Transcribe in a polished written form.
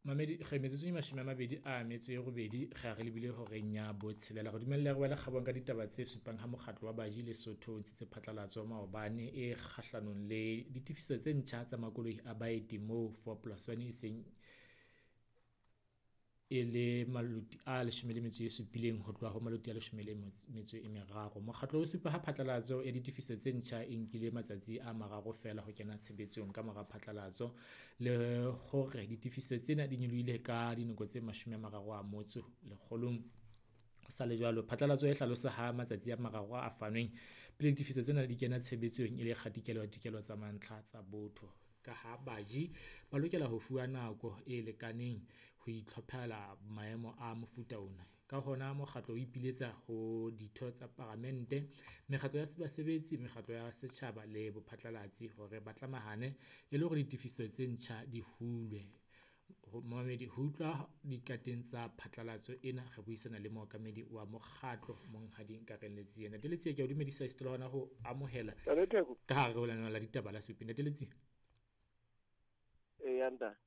Mamedi re metsotso e 28 re ya re lebile horeng ya botshelela. Re dumelle re wele kgabong ka ditaba tse supang ha mokgatlo wa baji Lesotho o ntshitse phatlalatso maobane e kgahlanong le ditefiso tse ntjha tsa makoloi a baeti moo 4 plus 1 e seng e le maloti a 17 ho tloha ho maloti a 13. Mokgatlo o supa ha phatlalatso ya ditefiso tse ntjha e nkile matsatsi a mararo feela ho kena tshebetsong ka mora phatlalatso, le hore ditefiso tsena di nyolohile ka dinoko tse 30 motso lekgolong. Ho sa le jwalo, phatlalatso e hlalosa ha matsatsi a mararo a fanweng pele ditefiso tsena di kena tshebetsong e le kgatikelo ya ditokelo tsa mantlha tsa botho, ka ha baji ba lokela ho fuwa nako e lekaneng ho itlhophela maemo a mofuta ona. Ka hona mokgatlo o ipiletsa ho ditho tsa paramente, mekgatlo ya basebetsi, mekgatlo ya setjhaba le bophatlalatsi hore ba tlamahane e le hore ditefiso tse ntjha di hulwe. Momamedi, ho utlwa dikateng tsa phatlalatso ena, re buisana le mookamedi wa mokgatlo Monghadi Nkareng Letsie. Ntate Letsie, ke a o dumedisa esita le hona ho amohela ka hare ho lenaneo la ditaba la Sepe. Ntate Letsie. Eya ntate.